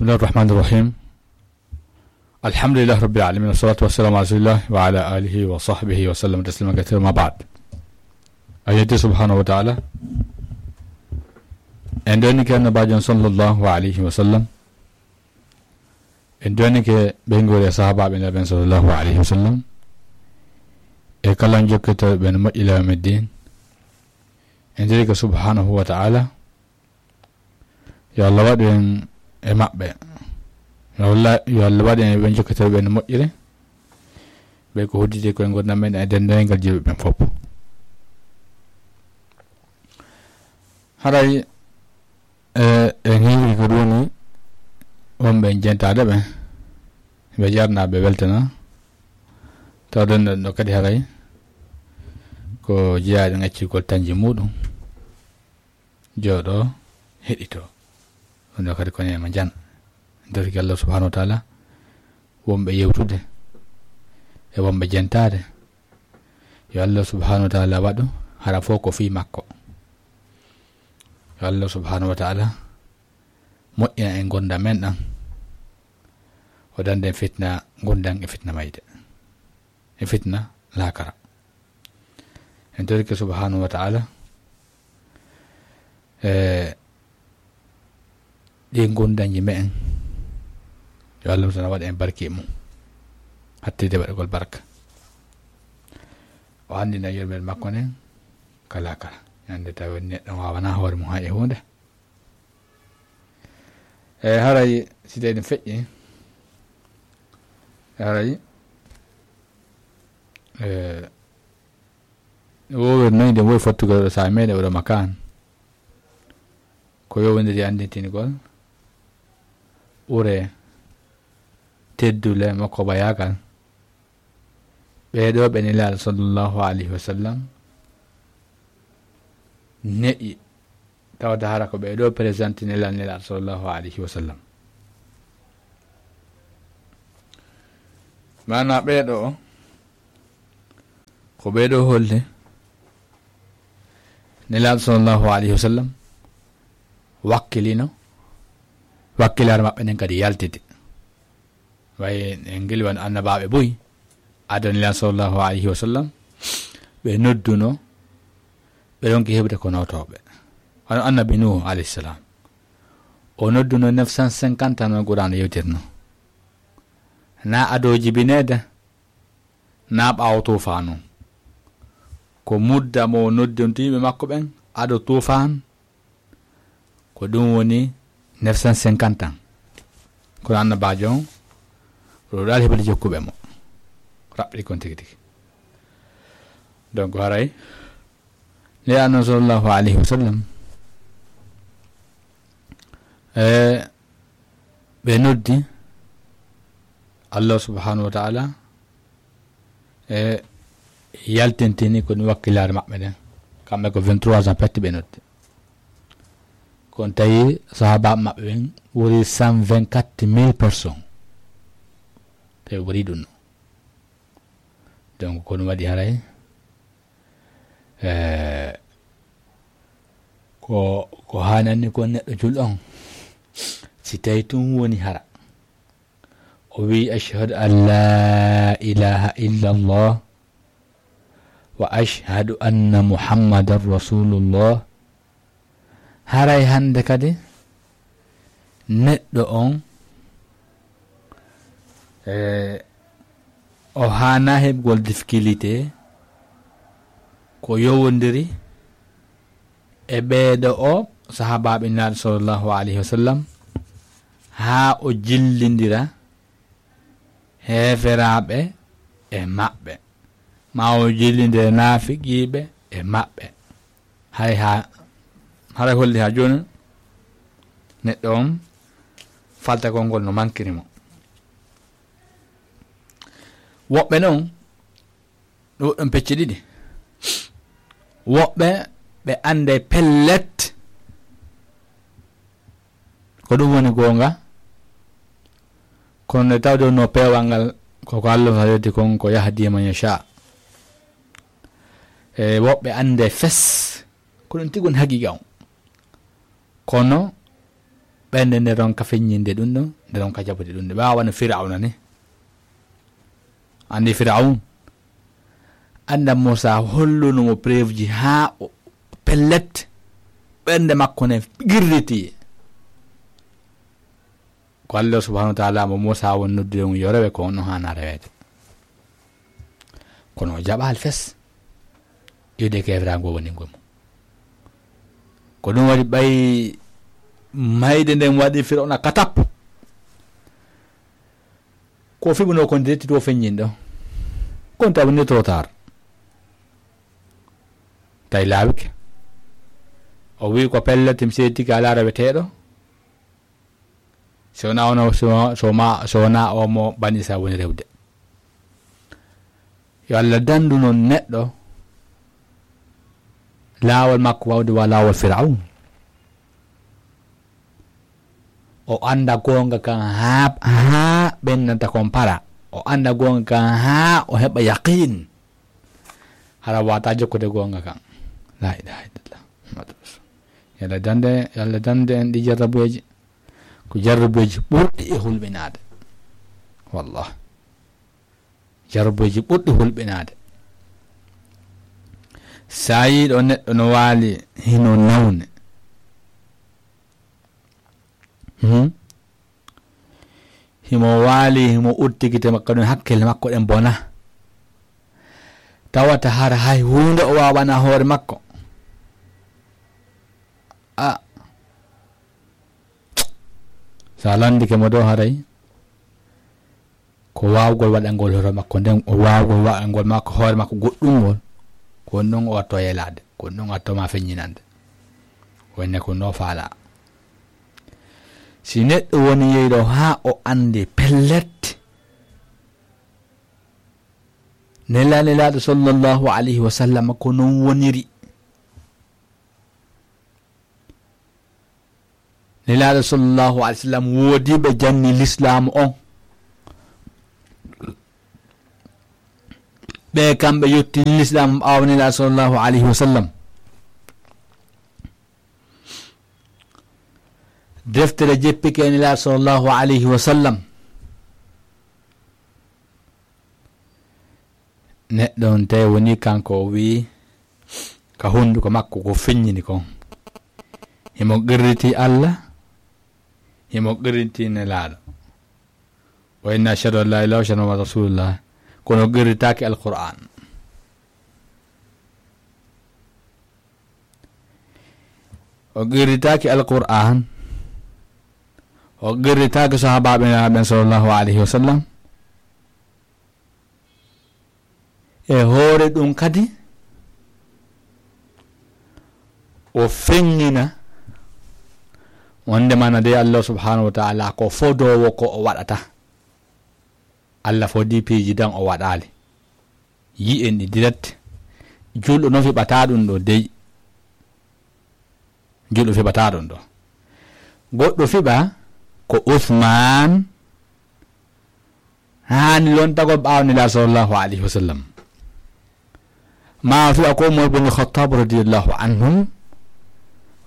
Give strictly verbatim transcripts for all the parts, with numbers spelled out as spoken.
بسم الله الرحمن الرحيم. الحمد لله رب العالمين، والصلاة والسلام على رسول الله وعلى آله وصحبه وسلم تسليما كثيرا، ما بعد. A yetti subhanahu wa ta'ala. En doni ke annabajo sallallahu alayhi wa sallam. En doni ke ɓe ngori e sahabaɓe naɓen sallallahu alayhi wa sallam. E kala jokkitoɓe ɓen moƴƴi lawmi din. En doni ke subhanahu wa ta'ala. Yo Allah waɗu en e maɓɓe. Yo Allah, yo Allah waɗu en e ɓe jokkitoɓe ɓen moƴƴire. Ɓe ko hodditi koye ngurndan men e denndaangal jiɓe ɓen fof. Haray, e, e ngiwi ko ɗum woni wonɓe jentaade ɓe. Ɓe jarna, ɓe weltana. Tawde no, no kadi haray ko jeyaaɗo ngaccirgol tañji muɗum. Jooɗo, heɗito. Ɗum ɗo kadi ko neema jan. Dorki Allah subhanahu wa ta'ala, wonɓe yewtude, e wonɓe jentaade. Yo Allah subhanahu wa ta'ala waɗu, hara fof ko fii makko. Yo Allah subhanahu wa ta'ala moƴƴina en ngurndan men ɗan. O danda en fitna ngurndan e fitna mayde. E fitna laakara. En torike subhanahu wa ta'ala, e ɗi ngurndanji me'en. Yo Allah tan waɗa en barki e mum. Hattide waɗugol barka. O anndina yurmel makko nden ka laakara. Ñande tawi neɗɗo wawana hoore mum hay e huunde. E haray si tawi ɗum feƴƴi, e haray, e, wowir noyde wowi fottugol oɗo saha meɗe oɗo makan. Ko yowondiri anndintingol ɓure teddule makko bayagal. Ɓee ɗoo ɓe Nelaaɗo sallallahu alayhi wa sallam ne'i, tawde hara ko ɓee ɗoo présenté Nelaaɗo, Nelaaɗo sallallahu alayhi wa sallam. Maanaa ɓee ɗoo, ko ɓee ɗoo holli Nelaaɗo sallallahu alayhi wa sallam wakkilino, wakkilaare maɓɓe nden kadi yaltiti. Way en ngilwan annabaaɓe buy, adani lan sallallahu alayhi wa sallam, ɓe nodduno, ɓe ronki heɓde ko nootooɓe. Wano annabi Nuhu alayhi salam. O nodduno neuf cent cinquante ans no Qur'an yewtirno. Na ado jibineede, na ɓaawo tuufaanu. Ko mudda mo noddinto yimɓe makko ɓen, ado tuufaan, ko ɗum woni neuf cent cinquante ans. Kono annabaajo on, o ɗaali heɓude jokkuɓe mo. Raɓɓiɗi kon tigi tigi. Donc, haray, Nelaaɗo sallallahu alayhi wa sallam, e, ɓe noddi Allah subhanahu wa ta'ala, e, yaltintini ko ɗum wakkilaare maɓɓe nden. Kamɓe ko vingt-trois ans pette ɓe noddi. Kono tawi sahaabaaɓe maɓɓe ɓen ɓuri cent vingt-quatre mille personnes. Tawi ɓuri ɗum no. Donc, ko ɗum waɗi haray, e, ko, ko haanani kon neɗɗo julɗo on, si tawi tun woni hara o wi, "Ashhadu an la ilaha illallah wa ashhadu anna Muhammadan rasulullah." Haray hannde kadi neɗɗo on, e, o haana heɓgol difficulté ko yowondiri e ɓeeɗo o sahaabaaɓe Nelaaɗo sallallahu alayhi wa sallam, haa o jillindira heeferaaɓe e maɓɓe, ma o jillindira naafiqiiɓe e maɓɓe. Hay ha, haray holli ha jooni neɗɗo on faltagol ngol no mankiri mo. Woɓɓe non, ɗum ɗon pecce ɗiɗi. Woɓɓe ɓe annday pellet ko ɗum woni goonga, kono nde tawde no peewal ngal, ko ko Allah tan yewti kon, ko yahdi man yasha. E woɓɓe annde fes, ko ɗum tigi woni haqiqa on. Kono Ɓernde nde ronka feññinde ɗum ɗo, nde ronka jaɓude ɗum ɗo. Ɓe waawano Firawna ni. Anndi Firawun? Annda Muusa holluno mo preuve ji haa o pellet ɓernde makko nde qirriti. Ko Allah subhanahu wa ta'ala mo Muusa won noddude mum yo rewe ko on haana reweede. Kono o jaɓaali fes. Iwde keeferaango woni ngol mum. Ko ɗum waɗi ɓay mayde nden waɗi Firawna katap. Ko fiɓunoo kon dirti to feññin ɗo. Kon taw ni trop tard. Tawi laawike. O wi'i ko pellet mi seedtike alaa reweteeɗo. So wonaa ono, so, so ma, so wonaa o mo Bani Israel woni rewde. Yo Allah dandu non neɗɗo laawol makko wawde wa laawol Firawun. O annda goonga kan haa, haa ɓennanta kon para. O annda goonga kan haa o heɓa yaqiin. Hara wata jokkude goonga kan. La ilaha illallah. Muhammadu Rasul. Yalla dande, yalla dande en ɗi jarrabuyeeji. Ko jarrabuyeeji ɓurɗi e hulɓinaade. Wallah. Jarrabuyeeji ɓurɗi hulɓinaade. Sa yii ɗo neɗɗo no waali hino nawne. Hmm? Himo waali, himo udditi gite makko ɗum, hakkille makko ɗen bona. Tawata hara hay huunde o waawana hoore makko. A. Sa landike mo dow haray. Ko waawgol waɗangol hoore makko nden, o waawgol waɗangol makko hoore makko goɗɗungol. Ko ɗum o watto yelaade, ko ɗum o watto ma feññinande. Wonne ko no faala. Si neɗɗo woni yeyɗo haa o anndi pellet, nela, Nelaaɗo sallallahu alayhi wa sallam ko non woniri. Nelaaɗo sallallahu alayhi wa sallam woodi ɓe janni lislaam on. Ɓe kamɓe yottini lislaam ɓaawo Nelaaɗo sallallahu alayhi wa sallam. Deftere jeppike e Nelaaɗo sallallahu alayhi wa sallam. Neɗɗo on tawi woni kanko o wi'i ka hunduko makko ko feññini kon. Himo qirriti Allah, himo qirriti Nelaaɗo. Wa inna ashhadu an la ilaha illa Muhammadu rasulullah. Kono qirritaaki Alqur'an. O qirritaaki Alqur'an. O qirritaaki sahaabaaɓe Nelaaɗo ɓen sallallahu alayhi wa sallam. E hoore ɗum kadi, o feññina wonde mana de Allah subhanahu wa ta'ala ko fodoowo ko o waɗata. Allah fodi piiji dan o waɗaali. Yi'en ɗi direct. Julɗo no fiɓata ɗum ɗo dey. Julɗo fiɓata ɗum ɗo. Goɗɗo fiɓa ko Usman haani lontagol ɓaawo Nelaaɗo sallallahu alayhi wa sallam. Ma fiɓa ko Umar bin Khattab radiyallahu anhum,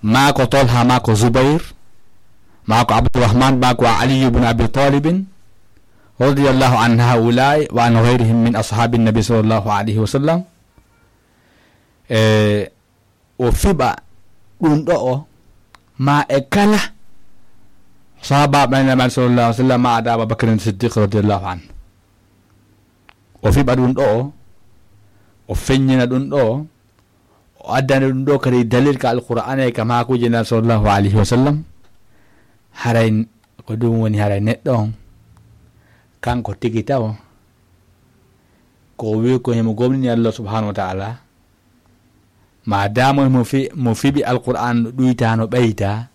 ma ko Talha, ma ko Zubair, ma ko Abdurrahman, ma ko Ali ibn Abi Talibin radiyallahu an haulai wa an ghayrihim min ashabin nabi sallallahu alayhi wa sallam. E o fiɓa ɗum ɗo o, ma e kala sahaaba ɓen Nelaaɗo sallallahu alayhi wa sallam, ma ada Aba Bakrin Siddiq radiyallahu anhu. O fiɓa ɗum ɗo o, o feññina ɗum ɗo o, o addani ɗum ɗo kadi dalil ka Alqur'aana e ka maakuuji Nelaaɗo sallallahu alayhi wa sallam. Haray ko ɗum woni haray neɗɗo on, kanko tigi tawo, ko o wi ko himo gomɗini Allah subhanahu wa ta'ala, ma damo mo fi-, mo fiɓi Alqur'an no ɗuyta, no ɓeyta,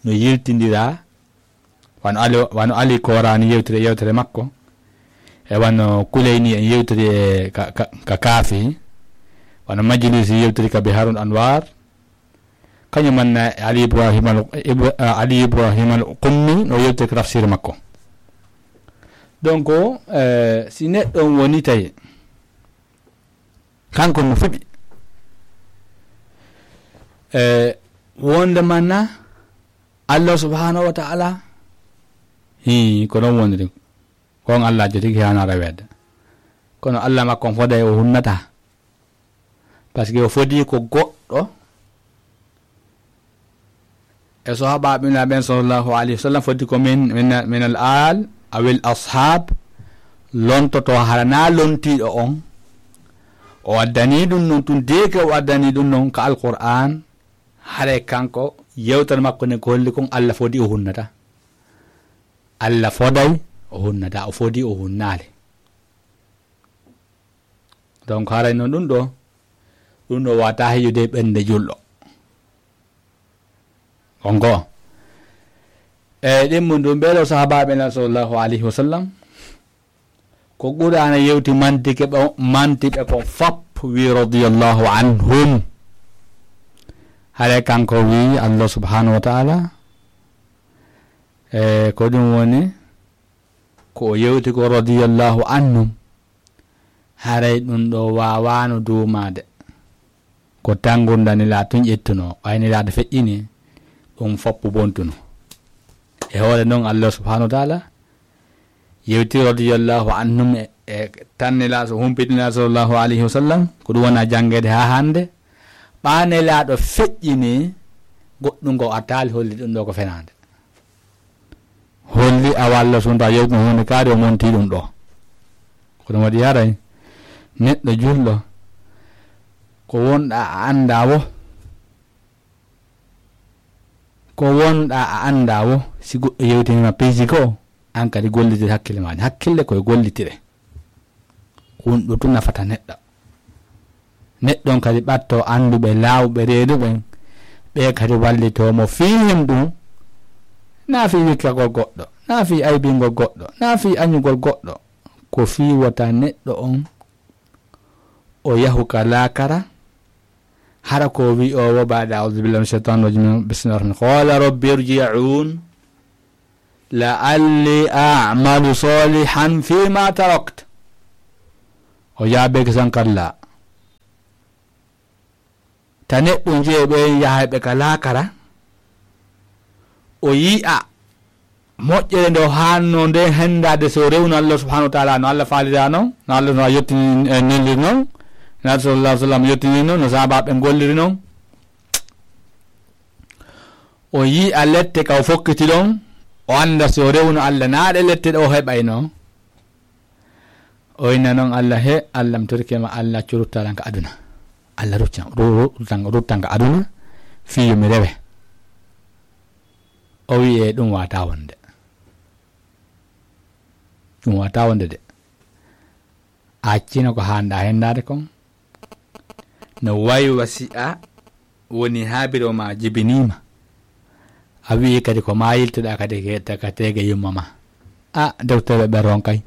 no yiltindira, wano Ali, wano Ali Korani yewtiri e yewtere makko, e wano Kuleyni en yewtiri e ka, ka, ka Kaafi, wano Majlisi yewtiri ka Biharul Anwar, kañum manna e Ali Ibrahim al, Ibra-, Ali Ibrahim al Qummi no yewtiri ka tafsir makko. Donc, eh, si neɗɗo on woni tawi kanko mo fiɓi. E wonde mana Allah subhanahu wa ta'ala, hi, ko noon woniri. Ko on Allah jotigi haana reweede. Kono Allah makko on foday o hunnata. Parce que o fodi ko goɗɗo e sahaabaaɓe ɓen sallallahu alayhi wa sallam, fodi ko min, min, min al aal aw al ashab, lontoto hara na lontiiɗo on. O addani ɗum non tun, deeke o addani ɗum non ka Alqur'aan, haray kanko yewtere makko nden ko holli kon Allah fodi o hunnata. Allah foday o hunnata, o fodi o hunnaali. Donc haray non ɗum ɗo, ɗum ɗo wata heƴude ɓernde julɗo. On ko e ɗimmu ɗum ɓeɗo sahaabaaɓe nan sallallahu alayhi wa sallam, ko Qur'aana yewti mantike ɓe, manti ɓe ko fop wi radiyallahu anhum. Haray kanko wi Allah subhanahu wa ta'ala, e ko ɗum woni ko o yewti ko radiyallahu anhum. Haray ɗum ɗo waawaano duumaade. Ko tan ngurndan Nelaaɗo tun ƴettunoo, ɓay Nelaaɗo feƴƴini, ɗum foppu bontuno. E hoore non, Allah subhanahu wa ta'ala yewti radiyallahu anhum e, e tan Nelaaɗo, humpiti Nelaaɗo sallallahu alayhi wa sallam, ko ɗum wona janngeede haa hannde. Ɓaa Nelaaɗo feƴƴini goɗɗum ko artaali holli ɗum ɗo ko fenaande. Holli awa Allah subhanahu wa ta'ala yewtino huunde kaari o monti ɗum ɗo. Ko ɗum waɗi haray neɗɗo julɗo ko wonɗa a annda wo, ko wonɗa a annda wo, si goɗɗo yewtinima piiji goo, an kadi gollitire hakkille ma, hakkille koye gollitire. Ko ɗum ɗo tun nafata neɗɗo. Neɗɗo on kadi ɓatto annduɓe laawɓe reeduɓe, ɓe kadi wallitoo mo fii hen ɗum, naa fii wikkagol goɗɗo, naa fii aybingol goɗɗo, naa fii añugol goɗɗo, ko fii wota neɗɗo on o yahu ka laakara, hara ko wi o wo baada, a'udhu billahi minash shaitanir rajim, bismillahir rahmanir rahim. Qala rabbi irji'un la'alli a'malu salihan fima tarakt. O jaabeeki san kalla. Ta neɗɗo jeeɓe yahayɓe ka laakara, o yi'a moƴƴere nde o haanno nde henndaade so rewno Allah subhanahu wa ta'ala, no Allah faalira non, no Allah no yottini, eh, neliri non, no Allah sallallahu alaihi wasallam yottini non, no sahaabaaɓe golliri non. O yi'a lette ka o fokkiti ɗon, o annda si o rewno Allah, naa ɗe lette ɗe o heɓayno. O inna non Allah, he Allah, mi torike ma, Allah, accu ruttalan ka aduna. Allah, ruttan, ru-, ru-, ruttan, ruttan ka aduna, fii yo mi rewe. O wi'e ɗum wata wonde. Ɗum wata wonde de. A accino ko haanɗa henndaade kon. No wayi wa si a woni haa biro ma jibiniima. A wi'i kadi ko ma yiltoɗa kadi ke-, ta-, ka teege yumma ma. A, docteur ɓe ronkay.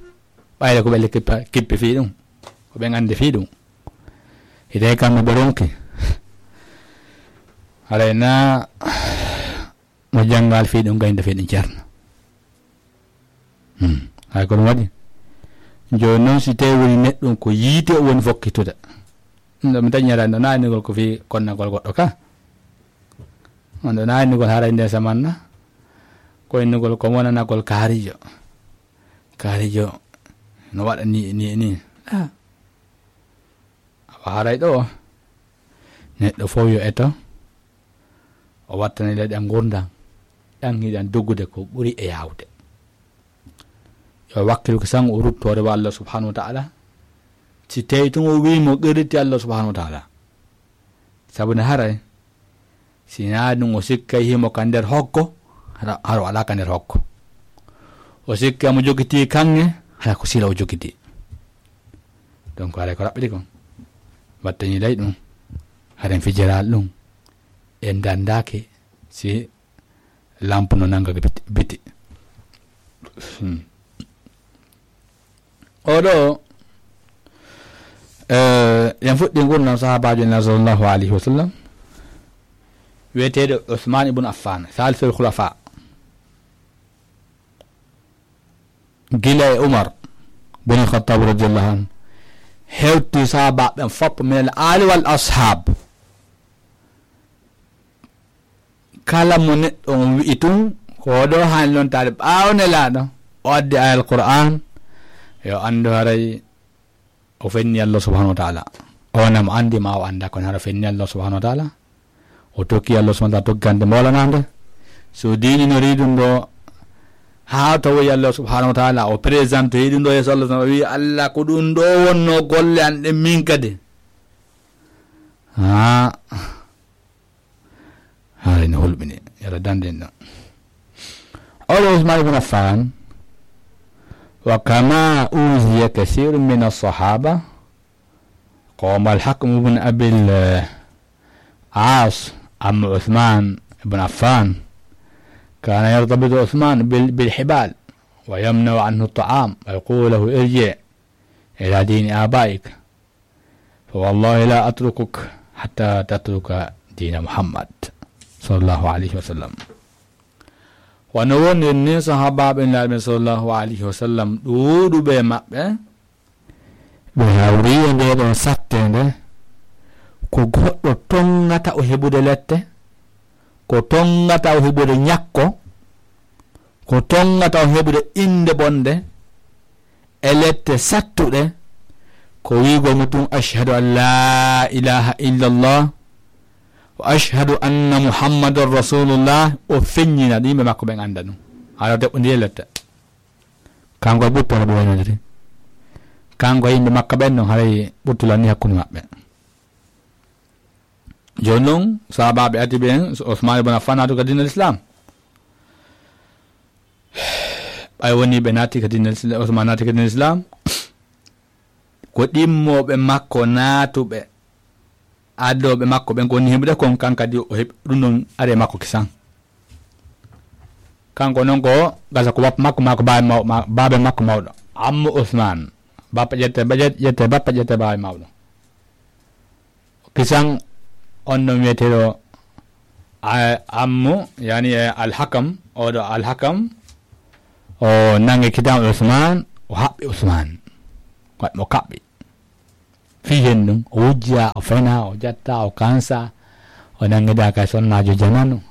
Ɓayde ko ɓe kippa-, kippi fii ɗum. Ko ɓe anndi fii ɗum. Hide kamɓe ɓe ronki. Haray na mo janngal fii ɗum gaynde fii ɗum ceerno. Hmm. Hay ko ɗum waɗi. Jooni noon si tawi woni neɗɗo ko yiite o woni fokkitude. Ɗum ɗo mi dañata ɗo naanigol ko fii konnagol goɗɗo ka. On ɗo naanigol haray nde samanna. Ko innugol ko wonanagol kaarijo. Kaarijo no waɗa ni, ni, ni. Ah. Awa haray ɗo, neɗɗo fof yo eto, o wattana leyɗe ngurndan, ɗan hiɗan doggude ko ɓuri e yaawde. Yo wakkilu ko sango o ruttoore wa Allah subhanahu wa ta'ala. Si tawi tun o wi'i mo qirriti Allah subhanahu wa ta'ala. Sabu ne haray, si naa ɗum o sikkay himo ka nder hoggo, hara, hara o alaa ka nder hoggo. O sikkay mo jogitii kaŋŋe, hara ko sila o jogitii. Donc, haray ko raɓɓiɗi kon. Wattani ley ɗum. Haren fijiral ɗum. En dandaaki si lampe no nanga biti, biti. Hmm. Oɗo, eh, en fuɗɗi ngurndan sahaabaajo Nulaaɗo sallallahu alayhi wa sallam, wi'eteeɗo Usmaan ibn Affaan, saalisul khulafa. Gila e Umar bun Khattab radiyallahu anhu, hewti sahaabaaɓe ɓen fop min al aali wal ashaab. Kala mo neɗɗo on wi'i tun, ko ɗo haani lontaade ɓaawo Nelaaɗo, o addi ayal Qur'aan, yo anndu haray o fenni Allah subhanahu wa ta'ala. O na mo anndi ma o annda, kono hara fenni Allah subhanahu wa ta'ala. O tokki Allah subhanahu wa ta'ala tokkande mawlanande. So diini no riidun ɗo, haa tawoyi Allah subhanahu wa ta'ala, o présente ɗum ɗo yeeso Allah subhanahu wa ta'ala, o wi'i, "Allah, ko ɗum ɗo wonno golle an ɗen min kadi." Haa. Haray no hulɓini, yalla danden ɗon. Oɗo Usman ibn Affan, wa kama uziya kasirun min as-sahaba, qama al-Hakam ibn Abil, eh, As, amma Usman ibn Affan, kana yartabitu Usman bil, bil hibal, wa yamna'u anhu at-ta'am, wa yaqulu lahu, "Irji' ila dini abaik." Fa wallahi la atrukuk hatta tatruka dina Muhammad sallallahu alayhi wa sallam. Wano woniri ni sahabaaɓe Nulaaɗo ɓen sallallahu alayhi wa sallam, ɗuuɗuɓe e maɓɓe, ɓe hawri e nde ɗo sattende, ko goɗɗo tongata o heɓude lette, ko tongata o heɓude ñakko, ko tongata o heɓude innde bonde, e lette sattuɗe, ko wi'ugol mo tun, "Ashhadu an la ilaha illallah, wa ashhadu anna Muhammadan rasulullah." O feññina ɗum, yimɓe makko ɓen annda ɗum. Haɗa deɓɓondiri e lette. Kanko e ɓuttu haɗa ɓe waynodiri. Kanko e yimɓe makko ɓen non haray ɓuttu lanni hakkunde maɓɓe. Jooni non, sahaabaaɓe ati ɓen, Usmaan ibn Affaan naatu ka diina Lislaam. Ɓay woni ɓe naati ka diina Lislaam, Usmaan naati ka diina Lislaam, ko ɗimmooɓe makko naatuɓe, addooɓe makko ɓen ko woni heɓude kon, kan kadi o heɓi ɗum ɗon ari e makko kisan. Kanko non ko gasa ko bappa makko, maa ko baabe maw-, ma-, baabe makko mawɗo. Ammo Usmaan, bappa ƴette, ba-, ƴet-, ƴette bappa, ƴette baabe mawɗo. Kisan on ɗon wiyeteeɗo a-, Ammu, yani, e Alhakam, oɗo Alhakam, o nangi kitan Usmaan, o haɓɓi Usmaan. Waɗi mo kaɓɓi. Fii hen ɗum, o wujja, o fena, o jatta, o kansa, o nangida kay sonnaajo jamanu.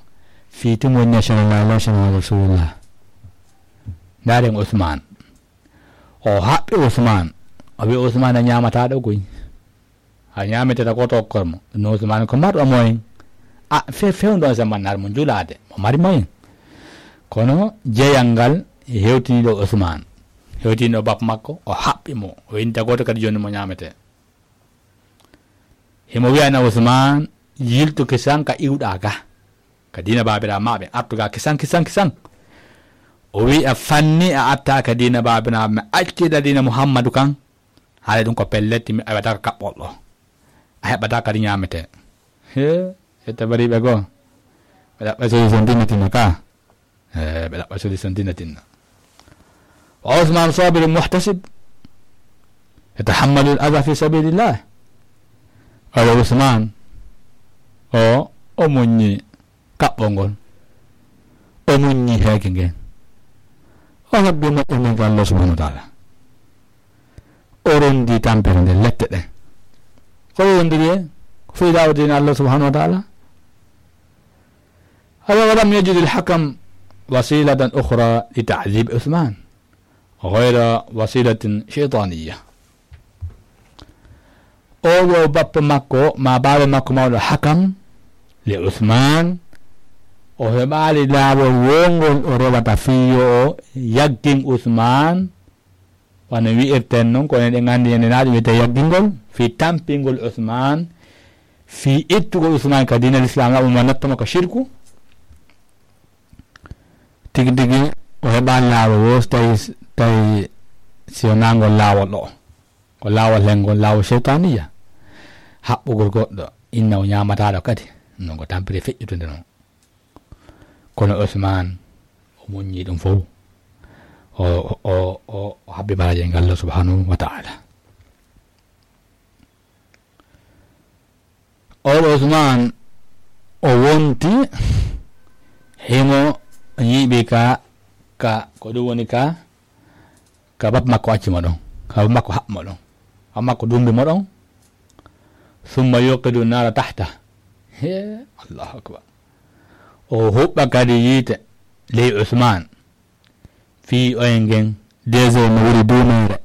Fii tun woni national, national Rasulullah. Ndaaren Usmaan. O haɓɓi Usmaan. O wi'i Usmaan a ñaamataa ɗo koy. A ñaameteta ko to okkor mo. No Usmaan ko marɗo moyen. A, fe-, fewndo on zaman nar mo julaade. Mo mari moyen. Kono jeyal ngal hewtini ɗo Usmaan. Hewtini ɗo bappa makko, o haɓɓi mo. O inta gooto kadi jooni mo ñaametee. Himo wi'ana Usmaan, yiltu kisan ka iwɗaa ka. Ka diina baabiraaɓe maa ɓe, artu ga kisan, kisan, kisan. O wi'i a fanni a atta ka diina baabiraaɓe maa, acciɗa diina Muhammadu kan. Haala ɗum ko pellet, mi aywata ka kaɓɓol ɗo. A heɓata kadi ñaamete. He, e tabariɓe goo. Ɓe ɗaɓɓa solution tinna tinna ka. Eh, ɓe ɗaɓɓa solution tinna tinna. Wa Usman sabirun muhtasib. Yatahammalu al-adha fi sabilillah. Awa Usman, o, o muññi kaɓɓol ngol. O muññi heege ngen. O habbi moƴƴo men ka Allah subhanahu wa ta'ala. O rondi tampere nde lette ɗe. Ko o rondiri e? Ko fii da'wa diina Allah subhanahu wa ta'ala. Awa walam yajid al-Hakam wasilatan ukhra li ta'dhib Usman ghayra wasilatin shaytaniyya. Oɗo bappa makko, ma baaba makko mawɗo Hakam, li Usman, o heɓaali laawol wongol o rewata fii yo o yaggin Usman, wano wi'irten non, ko enen ɗen anndi ñande na ɗum wiyetee yaggingol, fii tampingol Usman, fii ittugol Usman ka diina Lislaam, laɓum ma nattama ka shirku. Tigi tigi, o heɓaali laawol woo, so tawi, tawi si wonaa ngol laawol ɗo. Ko laawol hen ngol, laawol seytaaniya. Haɓɓugol goɗɗo, inna o ñaamataaɗo kadi. Non ko tampere feƴƴutunde non. Kono Usmaan, o muññii ɗum fof. O, o, o, o habbi baraaji e ngal Allah subhanahu wa ta'ala. Oɗo Usmaan, o wonti, himo ñiiɓi ka, ka, ko ɗum woni ka, ka bappa makko acci mo ɗon, ka bappa makko haɓɓi mo ɗon, bappa makko dumbi mo ɗon, summa yuqidu naara tahta. He, Allahu akbar. O huɓɓa kadi yiite ley Usmaan, fii oyngen deuxième no woni duumeere,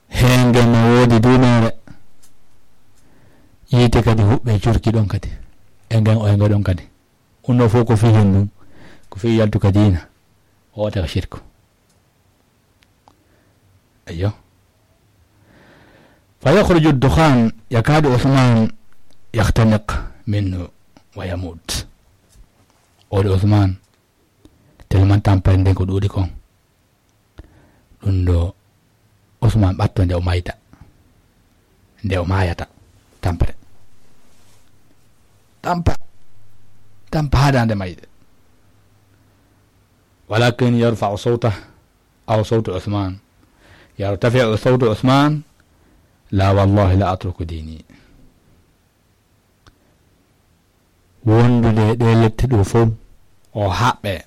heengen no woodi duumeere. Yiite kadi huɓɓe curki ɗon kadi, e ngen oynge ɗon kadi. Ɗum ɗo fof ko fii hen ɗum, ko fii yaltu ka diina, o wota ko shirku. Ayyo. فيخرج الدخان يكاد عثمان يختنق منه ويموت. Oɗo Usmaan, tellement tampere nden ko ɗuuɗi kon. Ɗum ɗo Usmaan ɓatto nde o mayta. Nde o maayata. Tampere. Tampa. Tampa haɗa nde mayde. ولكن يرفع صوته أو صوت عثمان. يرتفع صوت عثمان: لا والله لا أترك ديني. Wondude e ɗe lette ɗo fof, o haɓɓe.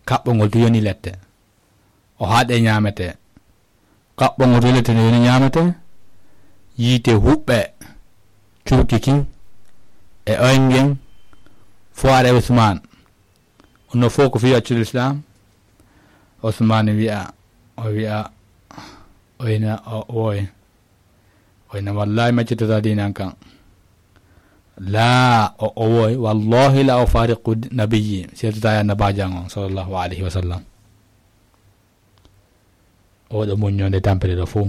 Kaɓɓongol to yoni lette. O haɗe ñaamete. Kaɓɓongol to lette no yoni ñaamete. Yiite huɓɓe. Curki kin. E oyngen. Foire Usmaan. Ɗum ɗo fof ko fii accude Lislaam. Usmaan wi'a, o wi'a, o ina, o, o woy. O ina, "Wallaahi, mi accitata diina an kan." Laa, o, o woy, "Wallaahi la ufaariqu nabiyyi." Mi seertata e annabaajo an on, sallallahu alayhi wa sallam. Oɗo muñño nde tampere ɗo fof.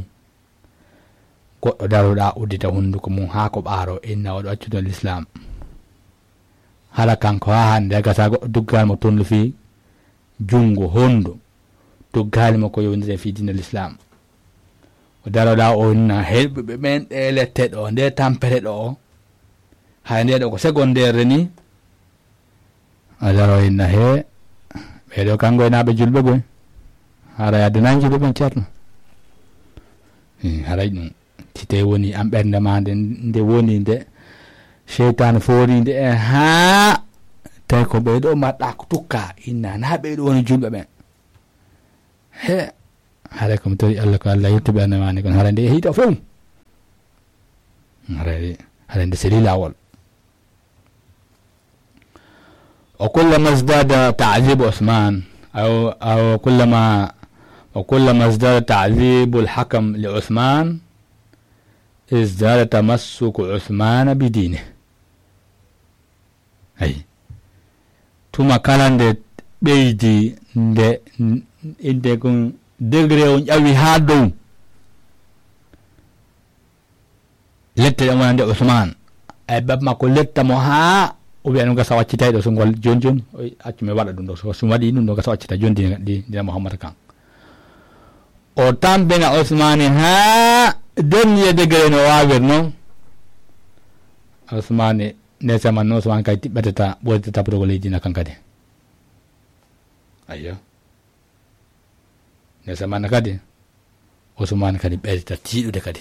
Goɗɗo daroɗa uddita hunnduko mum haa ko ɓaaro, inna oɗo accude Lislaam. Hara kanko haa hannde gasa goɗɗo duggal mo toon fii junngo hondu duggal mo ko yowndire fii diina Lislaam. O daroɗa o inna heɗɓe ɓen ɗe lette ɗo, nde tampere ɗo. Hay nde ɗo ko secondaire ni. A daro inna he, ɓee ɗo kanko e naaɓe julɓe goy. Hara yadde nan julɓe ɓen ceerno. Hmm, haray ɗum. Si tawi woni an ɓernde ma nde, nde woni nde, seytaane foori nde, e haa, tawi ko ɓee ɗo mbaɗɗa ko tukka, inna na ɓee ɗo woni julɓe ɓen. He, haray ko mi tori Allah ko Allah yetti ɓernde ma nde, kono haray nde yehi to fof. Haray, haray nde seli laawol. وكلما ازداد تعذيب عثمان، أو، أو كلما، وكلما ازداد تعذيب الحكم لعثمان، ازداد تمسك عثمان بدينه. Ayi. Tuma kala nde ɓeydi, nde, nde ko degré o ƴawi haa dow. Lette ɗen wonande Usmaan. Ay, bab makko letta mo haa o wiya ɗum gasa waccitay ɗo, so ngol jooni jooni, o accu mi waɗa ɗum ɗo. So, so mi waɗi ɗum ɗo gasa waccita jooni dina, di-, dina Muhammad kan. O tampina Usmaani haa dernier degré no waawir noon. Usmaani, nde zaman noon Usmaani kay tiɓɓetata, ɓoyta tappotogol e diina kan kadi. Ayyo. Nde zaman kadi, Usmaani kadi ɓeyta tiiɗude kadi.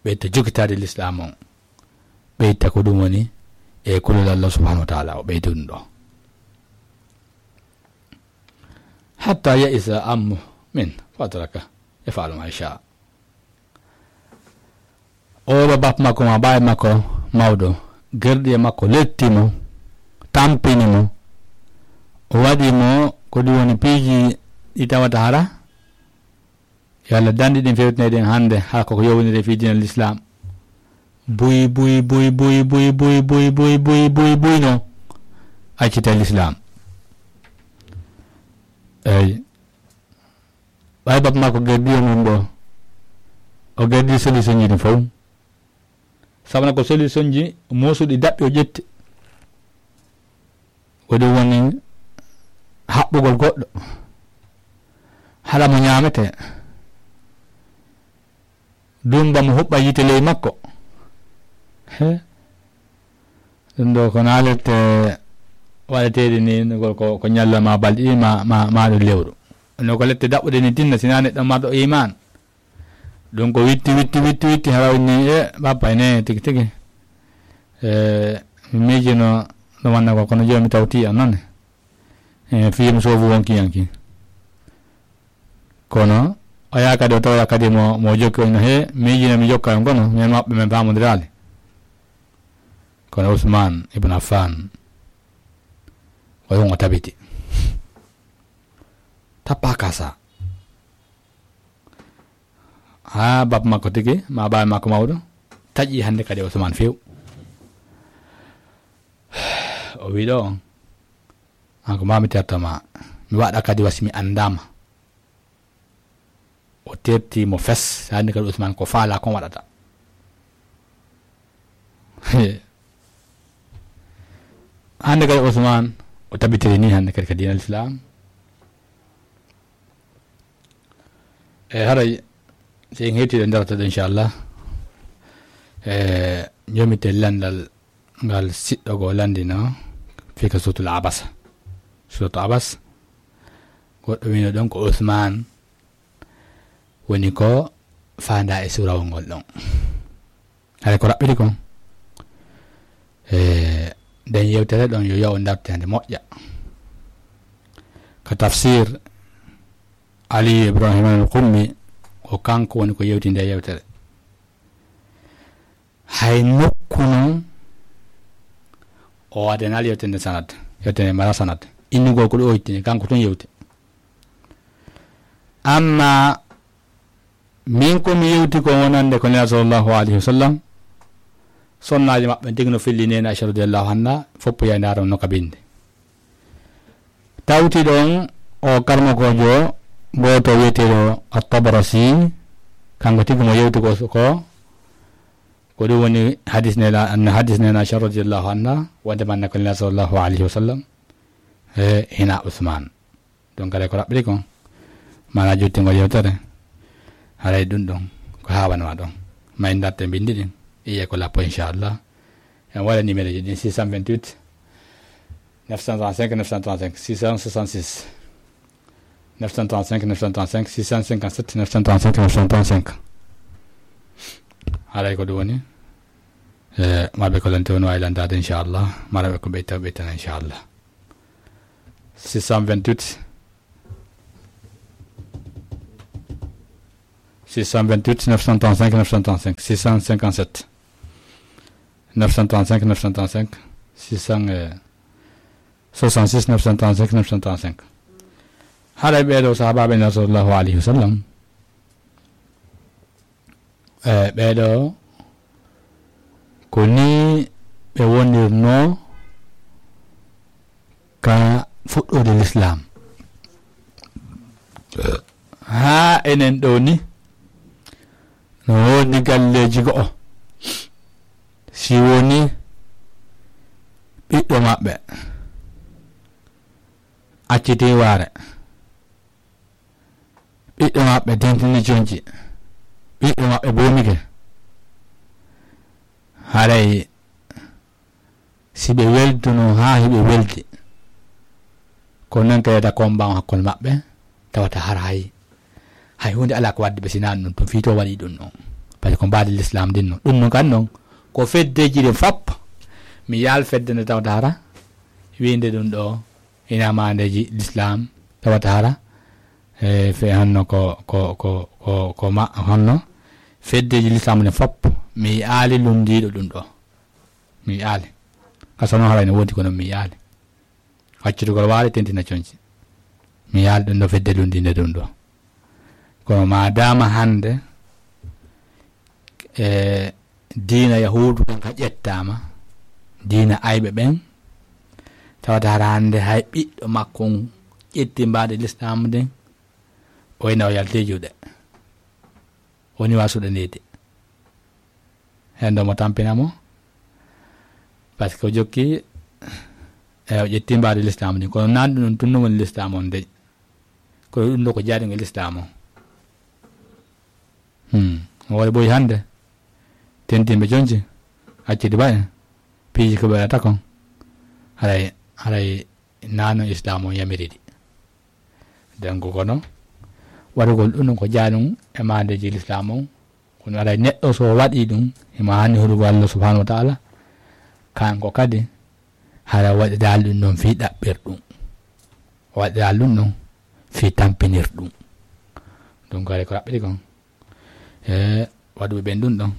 Ɓeyta jokitaade Lislaam on. Ɓeyta ko ɗum woni e kulol Allah subhanahu wa ta'ala, o ɓeyta ɗum ɗo. حتى يئس عمه منه فتركه يفعل ما يشاء. Oɗo bap makko ma baay makko mawɗo, gerɗi e makko letti mo, tampini mo, o waɗi mo ko ɗum woni piiji ɗi tawata hara, yo Allah danɗi ɗin fewtinay ɗin hannde, hara koko yowndiri fii diina Lislaam. Buy, buy, buy, buy, buy, buy, buy, buy, buy, buy, buy, no accita Lislaam. Eyi. Ɓay bap makko gerdi e mum ɗo, o gerdi solution ji ɗin fof. Sabana ko solution ji moosuɗi daɓɓi o ƴetti. Ko ɗum woni haɓɓugol goɗɗo. Haɗa mo ñaamete. Dumba mo huɓɓa yiite ley makko. He? Ɗum ɗo ko naa lette waɗeteeɗe ni, ngol ko, ko ñalla ma balɗe ɗiɗi ma, ma, ma ɗum lewru. No ko lette daɓɓude ni tinna, si naa neɗɗo marɗo iman. Ɗum ko witti, witti, witti, witti, hara woni e bappa ne tigi, tigi. E, mi miijino no wanna ko, kono jooni mi tawti an noon. E, fii mi soofu wonki yanki. Kono, o yaha kadi o tawoya kadi mo, mo jokki on, he, miijino mi jokka on kono, min maɓɓe min faamondiraali. Kono Usman ibn Affan, o yon o tabiti. Tappa kasa. Ha bab makko tigi, ma baaba makko mawɗo, taƴi hannde kadi Usman few. O wi ɗo on, an ko mami terto ma, mi waɗa kadi wasi mi anndama. O terti mo fes, hannde kadi Usman ko faala kon waɗata. Hannde kadi Usman, o tabitiri ni hannde kadi ka diinal Islam. E haray, so en hewtii ɗo darata ɗo, inchallah. E, jomite landal ngal siɗɗo goo landino, fii ka suutul Abasa. Suutu Abas, goɗɗo wino ɗon ko Usman woni ko faanda e surawol ngol ɗon. Haray ko raɓɓiɗi kon. E, nden yewtere ɗon yo yaw dartende moƴƴa. Ka tafsir Ali Ibrahim al Qummi, ko kanko woni ko yewti nde yewtere. Hay nokku non, o waɗanaali yewtere nde sanad, yewtere nde mara sanad. Innugol ko ɗo o ittini, kanko tun yewti. Amma min ko mi yewti ko wonande ko Nela sallallahu alayhi wa sallam, sonnaaji maɓɓe tigi no filli nena Aisha radiyallahu anha, foppu yayndaaro no ka binde. Tawti ɗon o karmokoojo gooto wiyeteeɗo At-Tabarasi, kanko tigi mo yewti ko, ko, ko ɗum woni hadis nena, hadis nena Aisha radiyallahu anha, wonde manne ko Nela sallallahu alayhi wa sallam, e, hina Usman. Donc, haray ko raɓɓiri kon, maanaa jottingol yewtere, haray ɗum ɗon, ko haawanma ɗon. Ma en darte mbinndi ɗin, iye ko lappo, inchallah. En waɗa numéro ji ɗin, six cent vingt-huit, neuf cent trente-cinq, neuf cent trente-cinq, six cent soixante-six, neuf cent trente-cinq, neuf cent trente-cinq, six cent cinquante-sept, neuf cent trente-cinq, neuf cent trente-cinq. Haray ko ɗum woni, e, marɓe ko lante woni waawi lantaade, inchallah. Maraɓe ko ɓeyta, ɓeytana, inchallah. Six cent vingt-huit, six cent vingt-huit, neuf cent trente-cinq, neuf cent trente-cinq, six cent cinquante-sept, neuf cent trente-cinq, neuf cent trente-cinq, six cent soixante-six, neuf cent trente-cinq, neuf cent trente-cinq. Haray ɓee ɗoo sahaabaaɓe Nela sallallahu alayhi wa sallam, e, ɓee ɗoo, ko nii ɓe wonirnoo ka fuɗɗoode lislaam. Haa enen ɗoo ni, no woodi galleeji go'o, si woni ɓiɗɗo maɓɓe accitii waare, ɓiɗɗo maɓɓe dentini conci, ɓiɗɗo maɓɓe boomike, haray si ɓe welduno haa hiɓe weldi, ko non kadi ta combat on hakkunde maɓɓe, tawata hara hay, hay huunde alaa ko waddi ɓe sinaa ɗum, ɗum fii to waɗi ɗum ɗon. Par ce que ko mbaadi l'islam din non. Ɗum non kan non, ko feddeji ɗin fop, mi yaal fedde nde tawata hara, wiinde ɗum ɗo, ina maandeji l'islam, tawata hara, e, fe honno ko, ko, ko, ko, ko ma, honno feddeji l'islam ɗin fop, mi yi'aali lunndiiɗo ɗum ɗo. Mi yi'aali. Ka sono haray no woodi kono mi yi'aali. Accitugol waare tentina conci. Mi yi'aali ɗum ɗo fedde lunndiinde ɗum ɗo. Kono maadaama hannde, e, diina Yahuudu kan ka ƴettaama, diina ayɓe ɓen, tawata hara hannde hay ɓiɗɗo makko on ƴetti mbaadi l'islam ndin, o ina o yalti juuɗe. Woni wa suɗaneede. Heen ɗo mo tampina mo, par ce que o jokki, e, o ƴetti mbaadi l'islam ndin. Kono nan ɗum ɗon tun no woni l'islam on dey. Kono ɗum ɗo ko jaaɗi e l'islam on. Hmm. Hoore boy hannde, tentinɓe conci, accidi ba en, piiji ko ɓe waɗata kon, haray, haray nano islam on yamiriɗi. Donc, kono waɗugol ɗum ɗon ko jaaɗi e maandeji l'islam on, kono haray neɗɗo so waɗi ɗum, himo haani huɗugol Allah subhanahu wa ta'ala, kanko kadi, hara waɗiraali ɗum ɗon fii ɗaɓɓir ɗum. Waɗiraali ɗum ɗon fii tampinir ɗum. Donc, haray ko raɓɓiɗi kon. E, waɗuɓe ɓen ɗum ɗon.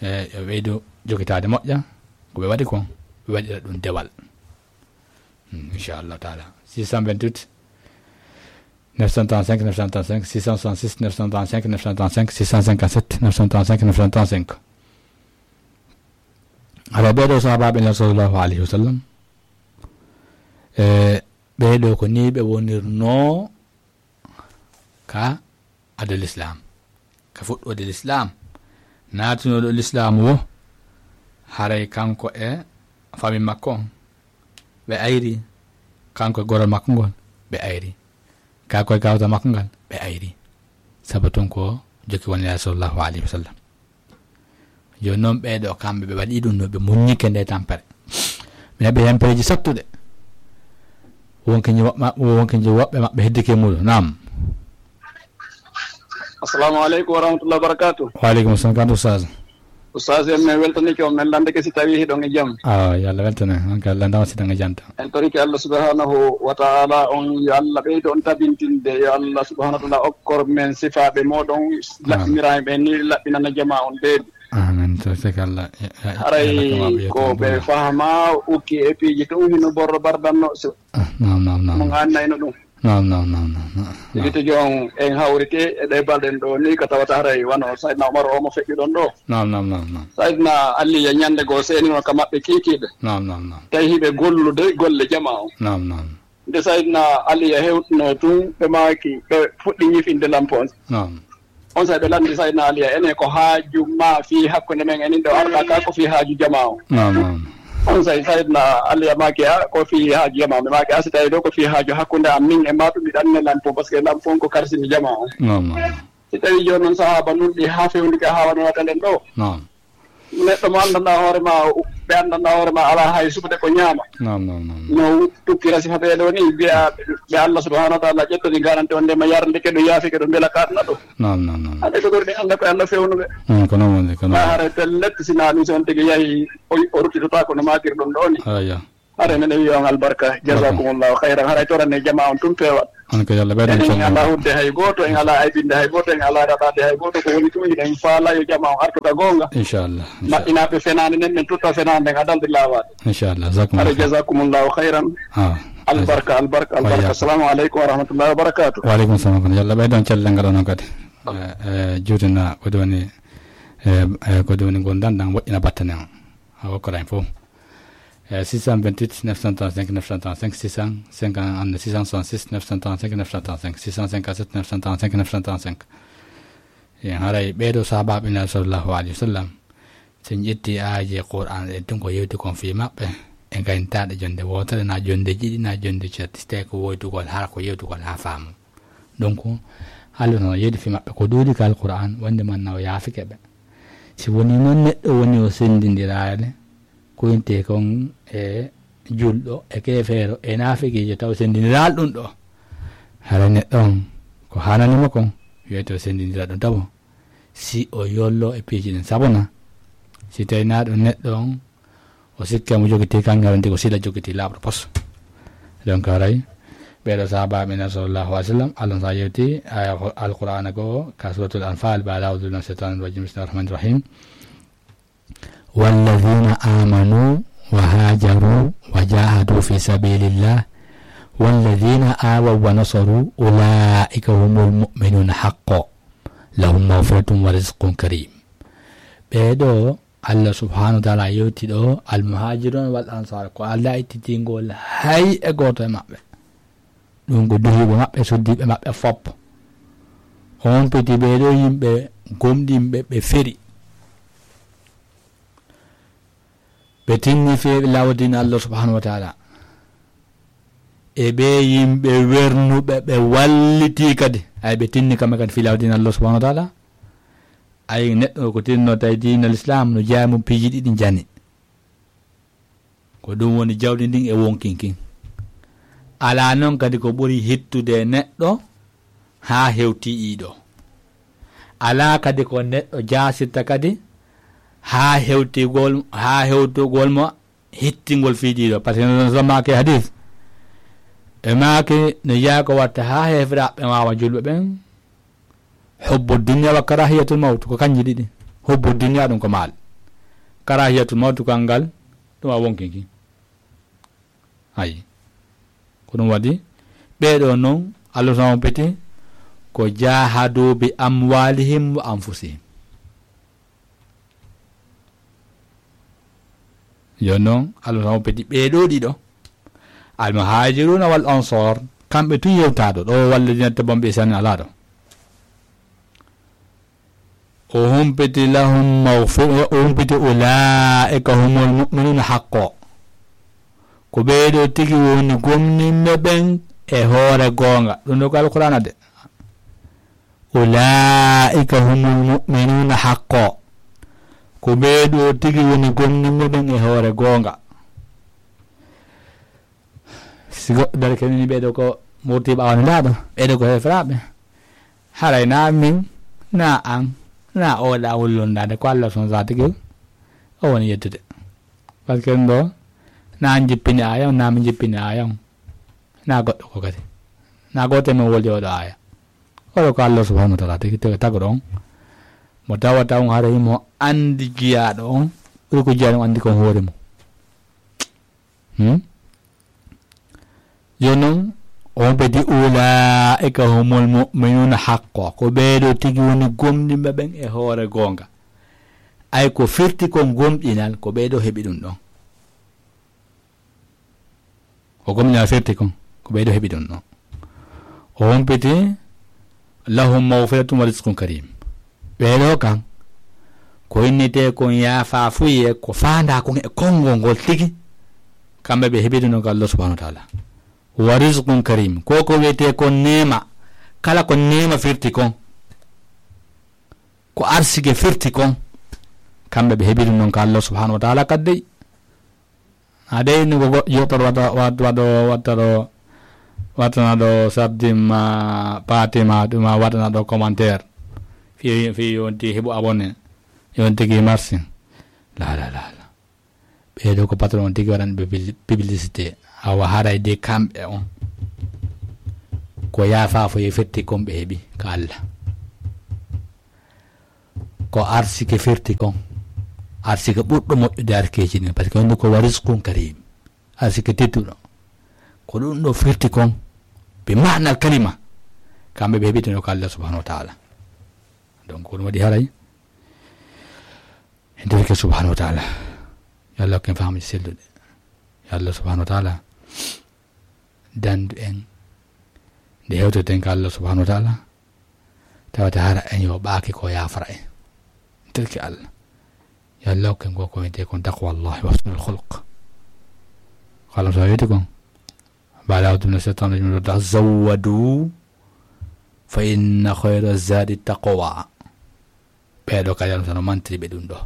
E, yo ɓeydu jokitaade moƴƴa. Ko ɓe waɗi kon, ɓe waɗira ɗum dewal. Hmm, inchallahu taala. Six cent vingt-huit, neuf cent trente-cinq, neuf cent trente-cinq, six cent soixante-six, neuf cent trente-cinq, neuf cent trente-cinq, six cent cinquante-sept, neuf cent trente-cinq, neuf cent trente-cinq. Hara ɓeeɗo sahabaaɓe Nulaaɗo sallallahu alayhi wa sallam, e ɓeeɗo ko nii ɓe wonirnoo ka adal Islam, ka fuɗɗoode Lislaam, naatunooɗo Lislaam wo, haray kanko e fami makko on, ɓe ayri, kanko e gorol makko ngol, ɓe ayri, kanko e gawta makko ngal, ɓe ayri. Sabu tun ko jokki won Nulaaɗo sallallahu alayhi wa sallam. Jooni noon ɓeeɗo kamɓe ɓe waɗi ɗum no ɓe muññike nde tampere. Ɓe heɓi heen peeji sattuɗe. Wonke nji woɓɓe, wonke nji woɓɓe maɓɓe heddike e muɗum. Naam. Assalamu aleykum wa rahmatullahi wa barakatuh. Wa aleykum salam, kanto Oustaz. Oustaz, en min weltanike on, min landike si tawi hiɗon e jam. Ah, yo Allah weltane. On ka Allah ndama si ɗon e janta. En torike Allah subhanahu wa ta'ala on, yo Allah ɓeydo on tabintinde, yo Allah subhanahu wa ta'ala okkor men sifaaɓe moɗon laɓɓinira ɓe ni laɓɓinana jama on deedi. Amin. To sek Allah. Ya, ya, Haray ya Allah ko ɓe fahma ukki e piiji tun hino borro bardanno so Ah, naam, naam, naam. Mo ngannayno ɗum. Naam, naam, naam, naam, naam. Sigi tigi on en hawriti e ɗe balɗen ɗo ni ka tawata haray wano Sayyidina Umar o mo feƴƴuɗon ɗo. Naam, naam, naam, naam. Sayyidina Ali ya ñande goo seenino ka maɓɓe kiikiiɓe. Naam, naam, naam. Tawi hiɓe gollude golle jama on. Naam, naam. Nde Sayyidina Ali ya hewtuno tun, ɓe maaki, ɓe fuɗɗi ñifinde lampo on. Naam. On say ɓe lanndi Sayyidina Ali ya, enen ko haaju ma fii hakkunde men, enin ɗo arɗa ka ko fii haaju jama on. Naam, naam. On say Sayyidina Ali ya maaki, a, ko fii haaju jama on. Ɓe maaki, a, si tawi ɗo ko fii haaju hakkunde am min e ma ɗum, mi ɗanne lampo, parce que lampo on ko karsini jama on. Naam, naam, naam. Si tawi jooni noon sahaaba nun ɗi haa fewndike haa wano waɗa nden ɗo. Naam. Neɗɗo mo anndanɗaa hoore ma, ɓe anndanɗaa hoore ma alaa hay suɓude ko ñaama. Naam, naam, naam. No tukkira si haɓee ɗo ni, mbiya ɓe Allah subhanahu wa ta'ala ƴettani garanti on nde ma yarlike ɗo, yaafike ɗo, mbela kaɗna ɗo. Naam, naam, naam. Ade ko ɓurɗi Allah ko Allah fewnuɓe. Mm, ko noon woni, ko noon. Ma haray pellet si naa ɗum si on tigi yahi, o, o ruttitotaako no maakir ɗum ɗo ni. Aya. Haray men wiya on albarka. Jazakumullahu khairan. Haray torane jama on tun peewal. On ko Yalla ɓeydan en. En alaa hudde hay gooto, en alaa aybinde hay gooto, en alaa raɗaade hay gooto. Ko woni tun, hiɗen faala yo jama on artu ka goonga. Inchallah, inchallah. Maɓɓinaaɓe fenaande nden, ɓen tutta fenaande nden, adalde laawaade. Inchallah, jazakumullahu khairan. Jazakumullahu khairan. Ah, albarka, albarka, albarka. Wa iyyakum. Assalamu aleykum wa rahmatullahi wa barakatuh. Wa aleykum salam. Yalla ɓeydan cellal ngal onon kadi. Eh, eh, juutina ko woni, eh, eh, ko woni ngondan ɗan woɗɗina battane on. A okkoran fof. Eh, six cent vingt-huit, neuf cent trente-cinq, neuf cent trente-cinq, six cent cinquante, six cent soixante-six, neuf cent trente-cinq, neuf cent trente-cinq, six cent cinquante-sept, neuf cent trente-cinq, neuf cent trente-cinq. Eh, haray ɓeeɗo sahabaaɓe Nulaaɗo sallallahu alayhi wa sallam, so en ƴetti aaje Qur'an ɗen tun ko yewti kon fii maɓɓe, e gayntaaɗe jonde wootere, na jonde ɗiɗi, na jonde ceeɗi, so tawi ko woytugol, hara ko yewtugol haa faamu. Donc, Allah no yeedi fii maɓɓe ko ɗuuɗi ka Alqur'an, wonde man na o yaafike ɓe. Si woni noon neɗɗo woni o senndindiraade, ko inte kon e julɗo, e keefeero, e naafiqiijo, taw senndindiraali ɗum ɗo. Hara neɗɗo on, ko haanani mo kon, wiyete o senndindira ɗum tabo. Si o yollo e piiji ɗin, sabuna, si tawi naa ɗum neɗɗo on, o sikke mo jogiti kan, haranti ko sila jogiti laaɓɗo pos. Donc, haray, ɓeeɗo sahabaaɓe Nulaaɗo sallallahu alayhi wa sallam, Allah sa yewti, aya ko Alqur'aana ko, ka Suuratul Anfaal, ba'da a'uuzu billahi minash shaytaanir rajiim, bismillahir rahmaanir rahiim. والذين آمنوا وهاجروا وجاهدوا في سبيل الله والذين آووا ونصروا أولئك هم المؤمنون حقا لهم مغفرة ورزق كريم. Ɓeeɗo Allah subhanahu wa ta'ala yewti ɗo, al-muhajirun wal ansar, ko Allah ittitingol hay e gooto e maɓɓe. Ɗum ko duhiiɓe maɓɓe, suddiiɓe maɓɓe fop. On piti ɓeeɗo yimɓe gomɗinɓe, ɓe feri. Ɓe tinni fii laawol diina Allah subhanahu wa ta'ala. E ɓe yimɓe wernuɓe, ɓe walliti kadi. Ay ɓe tinni kamɓe kadi fii laawol diina Allah subhanahu wa ta'ala. Ay neɗɗo ko tinno tawi diina l'islam no jeyaa mum piiji ɗiɗi jani. Ko ɗum woni jawdi ndin e wonkin kin. Alaa noon kadi ko ɓuri hittude e neɗɗo haa hewti iiɗo. Alaa kadi ko neɗɗo jaasirta kadi haa hewtigol, haa hewtugol mo hittingol fii ɗiiɗo. Parce que no zama ke hadis. E maake no jeyaa ko watta haa heeferaaɓe waawa julɓe ɓen. Hubbu dunya wa karahiyatul mawt, ko kanji ɗiɗi. Hubbu dunya ɗum ko maal. Karahiyatul mawt ko anngal Ɗum a wonkinki. Ayi. Ko ɗum waɗi, ɓeeɗo noon, Allah subhanahu peti, ko jahadu bi amwalihim wa anfusihim. Jooni noon, Allah subhanahu peti, ɓeeɗo ɗiɗo, al muhajiruna wal ansar, kamɓe tun yewtaɗo ɗo, walla dinata bomɓe sani alaa ɗo. O humpiti lahum maghfira, o humpiti ulaa'ika humul mu'minuna haqqo. Ko ɓeeɗo tigi woni gomɗinɓe ɓen e hoore goonga. Ɗum ɗo ko Alqur'aana de. Ulaa'ika humul mu'minuna haqqo. Ko ɓeeɗo tigi woni gomɗinɓe ɓen e hoore goonga. Si goɗɗo darike ni ɓeeɗo ko murti ɓaawo nelaaɗo, ɓeeɗo ko heferaaɓe. Haray na min, na an, na o ɗa wullondaade ko Allah subhanahu wa ta'ala tigi o woni yettude. Parce que ɗo, na an jippini aaya on, na min jippini aaya on. Na goɗɗo ko kadi. Na gooto men woldi oɗo aaya. Oɗo ko Allah subhanahu wa ta'ala tigi tigi tagoɗo on. Mo tawata on haray mo andi jiyaaɗo on, ɓuri ko jiyaaɗo on andi kon hoore mum. Hmm? Jooni noon, on ɓe di ulaa'ika humul mu'minuna haqqo. Ko ɓeeɗo tigi woni gomɗinɓe ɓen e hoore goonga. Ay ko firti kon gomɗinal, ko ɓeeɗo heɓi ɗum ɗon. Ko gomɗinal firti kon, ko ɓeeɗo heɓi ɗum ɗon. O humpiti, lahum maghfiratun wa rizqun karim. Ɓeeɗo kan, ko innete kon yaafaafuye, ko faandaa kon e konngol ngol tigi, kamɓe ɓe heɓi ɗum ɗon ko Allah subhanahu wa ta'ala. Wa rizqun karim, ko ko wiyetee kon neema, kala ko neema firti kon, ko arsike firti kon, kamɓe ɓe heɓi ɗum ɗon ko Allah subhanahu wa ta'ala kadi. A dey ni ko goɗɗo yewtere waɗa, waɗ-, waɗo, waɗata ɗo, waɗana ɗo sardi ma, paati ma, ɗum ma waɗana ɗo commentaire. Fi, fi yonti heɓu abonné. Yonti ki merci. La, la, la, la. Ɓeeɗo ko patron on tigi waɗan ɓe pibli-, publicité. Awa haray de kamɓe on. Ko yaafaafuye firti kon ɓe heɓi ka Allah. Ko arsike firti kon. Arsike ɓurɗo moƴƴude arsikeeji ɗin. Parce que wonde ko wa rizqun karim. Arsike tedduɗo. Ko ɗum ɗo firti kon. Bi ma'nal kalima. Kamɓe ɓe heɓi ɗum ko Allah subhanahu wa ta'ala. Donc, ko ɗum waɗi haray. En torike subhanahu wa ta'ala. Yo Allah hokken faamuji selluɗi. Yo Allah subhanahu wa ta'ala dandu en. Nde hewtoten ka Allah subhanahu wa ta'ala. Tawata hara en yo ɓaaki ko yaafara en. Terki Allah. Yo Allah hokken ko ko wiyetee kon taqwallahi wa husnul khuluq. Ko Allah so wiyete kon. Baada a'udhu minash shaitanir rajim. Tazawwadu fa inna khayra zadi taqwa. Ɓeeɗo kadi Allah no mantiri ɓe ɗum ɗo.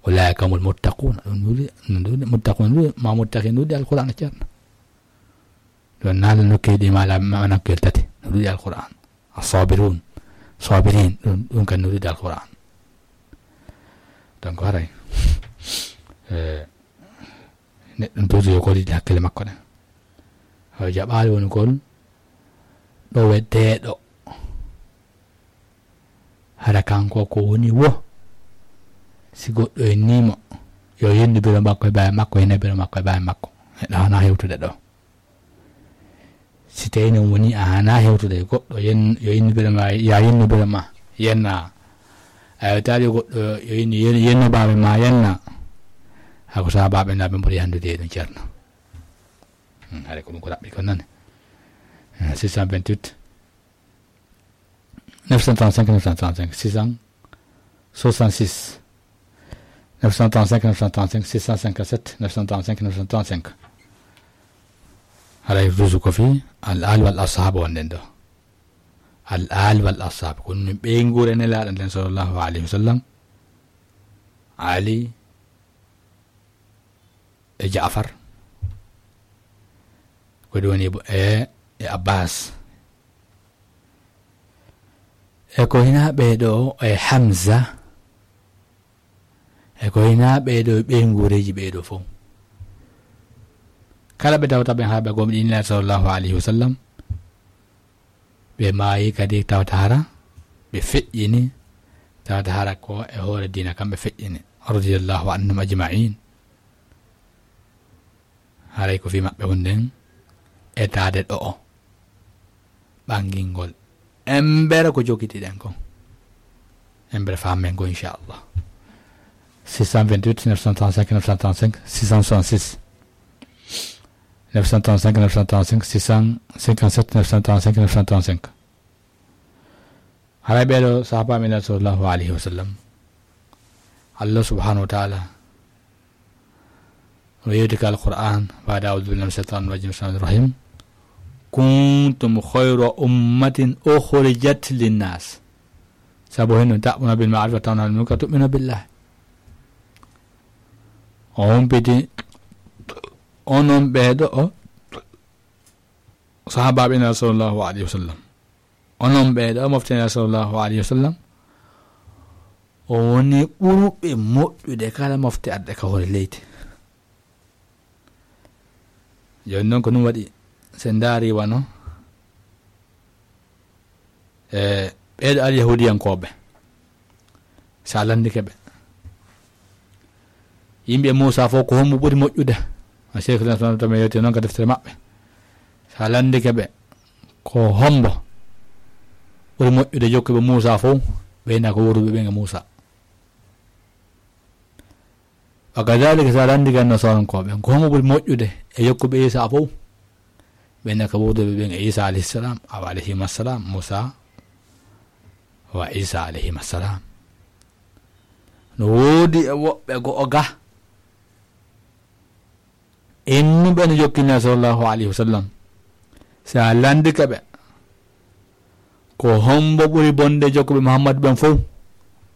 Ulaa'ika humul muttaquuna. Ɗum ɗuuɗi, ɗum ɗuuɗi, muttaquuna ɗuuɗi, ma muttaqiin ɗuuɗi Alqur'aana ceerno. Ɗum naala nokkeeji ɗi maala, ma nokkeeji tati. No ɗuuɗi Alqur'aan. As-saabiruun, saabiriin, ɗum, ɗum kan no ɗuuɗi Alqur'aan. Donc, haray, eh, neɗɗo toujours yo gollidi hakkille makko ɗen. Haray jaɓaali woni gol ɗo weddeeɗo. Hara kanko ko woni wo, si goɗɗo innii mo, yo yennu biro makko e baay makko, yenna biro makko e baay makko. Neɗɗo hana hewtude ɗo. Si tawi noon woni a hana hewtude goɗɗo, yen-, yo yennu biro ma, ya yennu biro ma, yenna. A yewtaali goɗɗo, yo yennu, yen-, yennu baaba ma, yenna. Hako sa baaba na ɓe mbori handude e ɗum ceerno. Hmm, haray ko ɗum ko raɓɓi kon nane. Eh, six cent vingt-huit. Neuf cent trente-cinq, neuf cent trente-cinq, six cent soixante-six. Neuf cent trente-cinq, neuf cent trente-cinq, six cent cinquante-sept, neuf cent trente-cinq, neuf cent trente-cinq. Haray toujours ko fii al-aal wal ashaab wonɗen ɗo. Al-aal wal ashaab. Ko ɗum ɓeynguure Nelaaɗo nden sallallahu alayhi wa sallam. Ali, e Jaafar, ko ɗum woni bo-, e, e Abbas. E ko hinaa ɓee ɗoo, e Hamza, e ko hinaa ɓee ɗoo, e ɓeynguureeji ɓee ɗoo fof. Kala ɓe tawta ɓen haa ɓe gomɗinii Nelaaɗo sallallahu alayhi wa sallam, ɓe maayi kadi tawata hara ɓe feƴƴini, tawata hara ko e hoore diina kam ɓe feƴƴini. radiyallahu anhum ajma'in. Haray ko fii maɓɓe wonɗen etaade ɗo'o ɓangingol. Embere ko jogitiɗen kon. Embere faamen ko, inchallah. Six cent vingt-huit, neuf cent trente-cinq, neuf cent trente-cinq, six cent soixante-six. Neuf cent trente-cinq, neuf cent trente-cinq, six cent cinquante-sept, neuf cent trente-cinq, neuf cent trente-cinq. Haray ɓeeɗo sahaaba men sallallahu alayhi wa sallam, Allah subhanahu wa ta'ala no yewti ka Alqur'an, baada a'udhu billahi minash shaitanir rajim, bismillahir rahmanir rahim. Kuntum khayra ummatin ukhrijat linnas. Sabu henno ta'muruna bil ma'ruf wa tanhawna 'anil munkar wa tu'minuna billah. O humpiti onon ɓeeɗo o sahaaba ɓe na sallallahu alayhi wa sallam. Onon ɓeeɗo mofte na sallallahu alayhi wa sallam. O woni ɓurɓe moƴƴude kala mofte adde ka hoore leydi. Jooni noon ko ɗum waɗi, so ndaari wano, e, ɓeeɗo alyahuudiyankooɓe, so a lanndike ɓe, yimɓe Muusaa fof ko hombo ɓuri moƴƴude? A Cheikh Islam tama yewte noon ka deftere maɓɓe. So a lanndike ɓe, ko hombo ɓuri moƴƴude jokkuɓe Muusaa fof? Ɓe na ko wuuruɓe ɓen e Muusaa. Wa kadhalika, so a lanndike Nasaarankooɓe, ko homo ɓuri moƴƴude e jokkuɓe Iisaa fof? Ɓen na ko wuuruɓe ɓen e Iisaa alayhi salam, aw alayhima salam, Muusaa wa Iisaa alayhima salam. No woodi e woɓɓe go o ga innuɓe no jokki Nabi sallallahu alayhi wa sallam. So a lanndike ɓe, ko hombo ɓuri bonde jokkuɓe Muhammadu ɓen fof?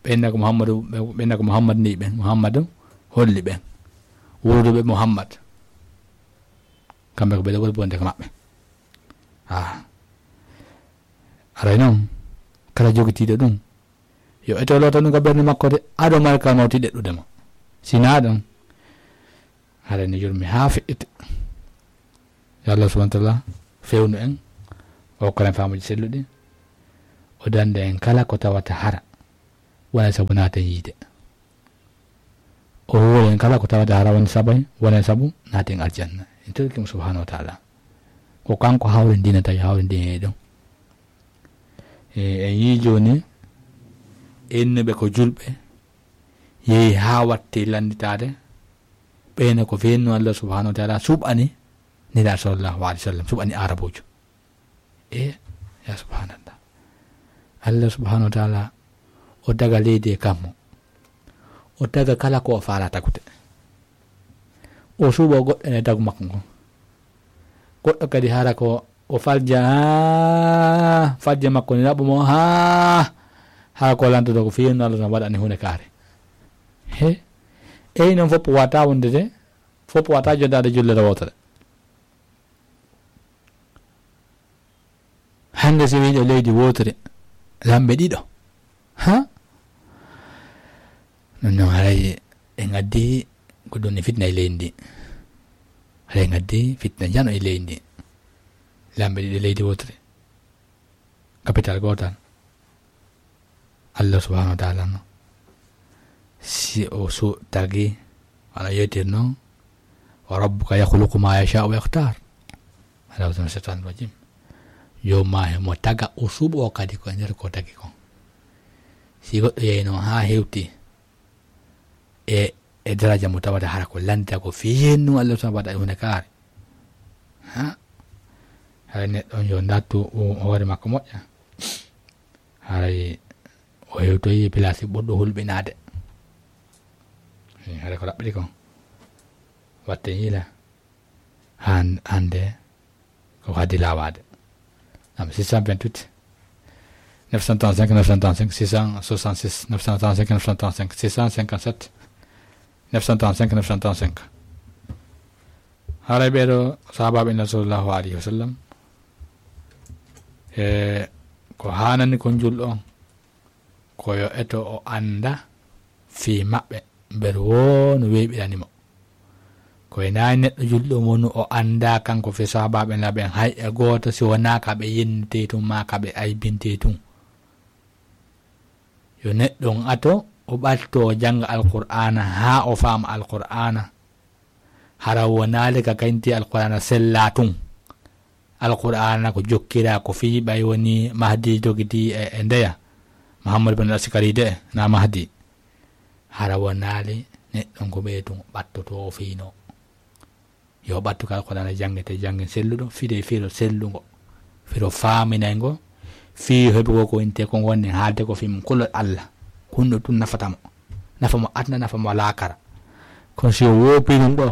Ɓen na ko Muhammadu, ɓen na ko Muhammadu ne'i ɓen, Muhammadu holli ɓen, wuuruɓe Muhammad. Kamɓe ko ɓe ɓuri bonde ko maɓɓe. Ah. Aray noon, kala jogitiiɗo ɗum, yo eto loota ɗum ka ɓernde makko de, ado mari ka nawti ɗeɗɗude mo. Si naa ɗum, haray ne yurmi haa feƴƴete. Yo Allah subhanahu wa ta'ala fewnu en, o hokka en faamuuji selluɗi, o danda en kala ko tawata hara wona sabu naaten yiide. O huuwa en kala ko tawata hara woni sabay, wona sabu naaten aljanna. En torki mo subhanahu wa ta'ala. Ko kanko hawrindinata, yo hawrindin e ɗum. E, en yii jooni, innuɓe ko julɓe, yehi haa watti lannditaade, ɓeyna ko feenno Allah subhanahu wa ta'ala suɓani Nelaaɗo sallallahu alayhi wa sallam, suɓani Arabuujo. E, ya subhanallah. Allah subhanahu wa ta'ala, o daga leydi e kammu. O daga kala ko o faala tagude. O suɓo goɗɗo e dagu makko ngon. Goɗɗo kadi hara ko o falja, haa falja makko ni laɓɓo mo, haa hara ko lantoto ko fii no Allah waɗani huunde kaare. He, eyi noon fof wata wonde de, fof wata joddaade jullere wootere. Hannde so wiiɗo leydi wootere, lamɓe ɗiɗo. Ha? Ɗum noon haray en addi ko ɗum ne fitna e leydi ndi. Haray en addi fitna jano e leydi ndi. Lamɓe ɗiɗo leydi wootere. Capital gootal. Allah subhanahu wa ta'ala no. Si o so tagi, wano yewtir noon, "Wa rabbuka yakhluqu ma yasha'u wa yakhtar." Ala wazn shaitan rajim. Yo ma he mo taga o suɓo kadi ko e nder ko tagi kon. Si goɗɗo yehi noon haa hewti e, e daraja mo tawata hara ko lanta ko fii hennun Allah subhanahu wa ta'ala e huunde kaari. Ha? Haray neɗɗo on yo ndattu o hoore makko moƴƴa. Haray o hewtoyi place ɓurɗo hulɓinaade. Eh, haray ko raɓɓiɗi kon. Watte yiila. Han-, hannde ko haddi laawaade. Am six cent vingt-huit, neuf cent trente-cinq, neuf cent trente-cinq, six cent soixante-six, neuf cent trente-cinq, neuf cent trente-cinq, six cent cinquante-sept, neuf cent trente-cinq, neuf cent trente-cinq. Haray ɓeeɗo sahaabaaɓe Nulaaɗo sallallahu alayhi wa sallam, e ko haanani kon julɗo on, ko yo eto o annda fii maɓɓe, mbeɗa woo no weeɓirani mo. Ko e nayi neɗɗo julɗo wonu o annda kanko fii sahaabaaɓe Nulaaɗo ɓen hay e gooto si wonaa ka ɓe yennitee tun maa ka ɓe aybintee tun. Yo neɗɗo on ato O ɓatto o jannga Alqur'aana haa o faama Alqur'aana. Hara wonaali ka kañti Alqur'aana sellaa tun. Alqur'aana ko jokkiraa ko fii ɓay woni Mahdi jogiti e, e ndeya. Muhammad bin Askari de, na Mahdi. Hara wonaali neɗɗo ko ɓee tun ɓattotoo o fiino. Yo ɓattu ka Alqur'aana janngete jannge selluɗo, fide firo sellungo. Firo faaminay ngo, fii heɓugo ko inte ko ngonne haalde ko fii mum kulol Allah. Kunno tun nafata mo. Nafa mo aduna, nafa mo laakara. Kono si o woopi ɗum ɗo,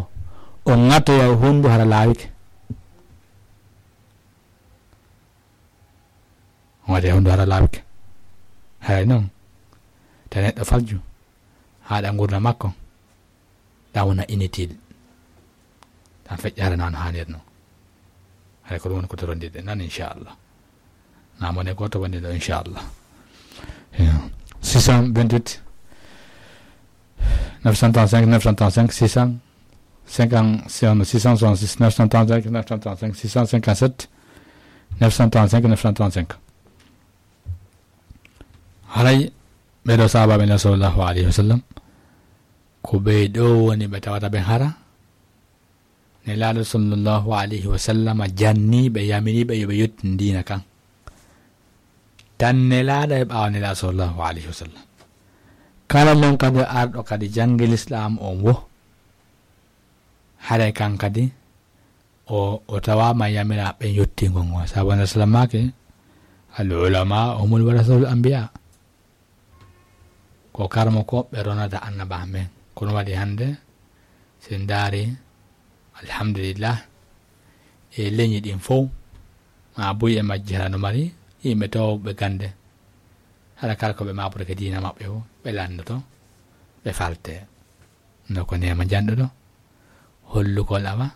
o ŋatoya o hondu hara laawike. O ŋatoya hondu hara laawike. Haray non, ta neɗɗo falju, haɗa ngurna makko, ɗa wona inutile. Ɗan feƴƴa hara nan haanir non. Haray ko ɗum woni ko torondirɗe nan, inchallah. Na mone gooto woni ɗo, inchallah. Eh, six cent vingt-huit, neuf cent trente-cinq, neuf cent trente-cinq, six cent cinquante, six cent soixante-six, neuf cent trente-cinq, neuf cent trente-cinq, six cent cinquante-sept, neuf cent trente-cinq, neuf cent trente-cinq. Haray ɓee ɗoo sahaabaaɓe Nelaaɗo sallallahu alayhi wa sallam, ko ɓee ɗoo woni ɓe tawata ɓe hara Nelaaɗo sallallahu alayhi wa sallam janni ɓe, yamiri ɓe yo ɓe yottin diina kan. Tan Nelaaɗo e ɓaawo Nelaaɗo sallallahu alayhi wa sallam. Kala non kadi arɗo kadi janngi Lislaam on wo, haray kan kadi o, o tawaama yamira ɓe yottingol ngol. Sabu Nelaaɗo sallam maaki, "Al ulama humul warasatul anbiya." Ko karmo ko ɓe ronata annaba men. Kono waɗi hannde, si en ndaari, alhamdulillah, e leñi ɗin fow, ma buy e majji hara no mari yimɓe towɓe gannde. Hara kala ko ɓe maaborake diina maɓɓe o, ɓe lanndoto, ɓe falte. No ko neema janɗuɗo, hollugol awa,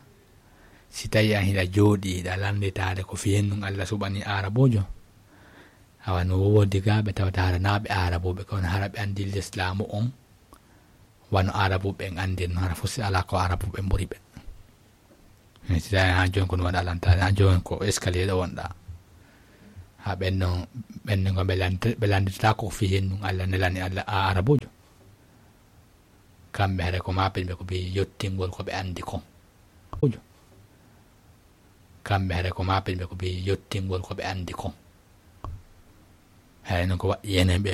si tawi an hiɗa jooɗi, hiɗa lannditaade ko fii hennun Alla suɓani Aarabuujo. Awa no woodi gaa ɓe tawata hara naa ɓe Aarabuuɓe, kono hara ɓe anndi Lislaamu on, wano Aarabuuɓe en anndi no, hara fof si alaa ko Aarabuuɓe ɓuri ɓe. Mais si tawi haa jooni ko ɗum waɗa lantaade, haa jooni ko escalier ɗo wonɗa. Haa ɓen non, ɓen non ko ɓe lanndita-, ɓe lannditata ko fii hennun Alla nelani Alla a Aarabuujo. Kamɓe hare ko maapen ɓe ko ɓe yottingol ko ɓe anndi kon. Kamɓe hare ko maapen ɓe ko ɓe yottingol ko ɓe anndi kon. Hare non ko waɗi enen ɓe